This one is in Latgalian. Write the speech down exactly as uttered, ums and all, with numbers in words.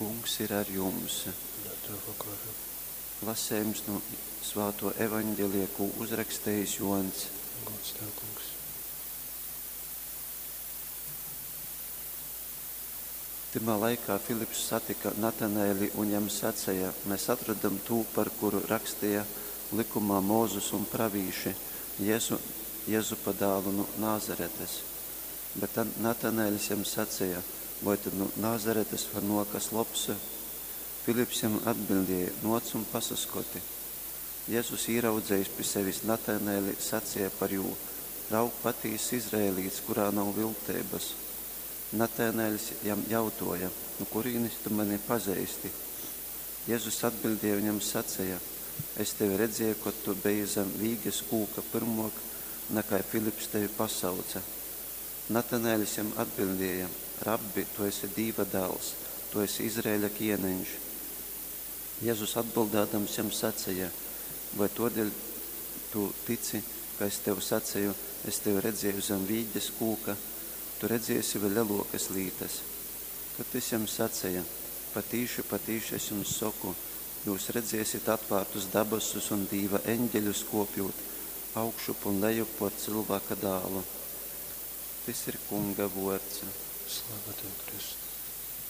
Kungs ir ar jums. Un ar tavu garu. Lasējums no Svāto evaņģelija, kū uzrakstījis Joņs. Gods tev, Kungs. Tymā laikā Filips satika Natanaeli un jam saceja: Mēs atradam tū, par kuru rakstīja likumā Mozus un pravīši, Jēzu, Jezupa dālu nu Nāzaretes. Bet Natanaeļs jam saceja: Voi tad nu Nāzaretes var nōkt kas lobs? Filips jam atbildēja: Nōc un pasaskoti. Jezus, īraudzējis pi sevis Natanaeli, saceja par jū: Raug, patīss izraelīts, kurā nav vilteibas. Natanaeļs jam jautoja: Nu kurīnes tu mani pazeisti? Jezus atbildēja un jam saceja: Es tevi redzēju, kod tu beji zem vīges kūka pyrmōk, nakai Filips tevi pasauce. Natanaeļs jam atbildēja: Rabbi, tu esi Dīva dāls, tu esi Izraeļa kieneņš. Jezus atbildādams jam saceja: Vai tōdēļ tu tici, ka es tev saceju, es tevi redzēju zem vīges kūka? Tu redzēsi vēl lelōkas lītas. Tad tys jam saceja: Patīši, patīši es jums soku, jūs redzēsit atvārtus dabasus un Dīva eņģeļus kōpjūt augšup un lejup pōr Cylvāka dālu. Tys ir Kunga vōrds. Slava tev, Kristu.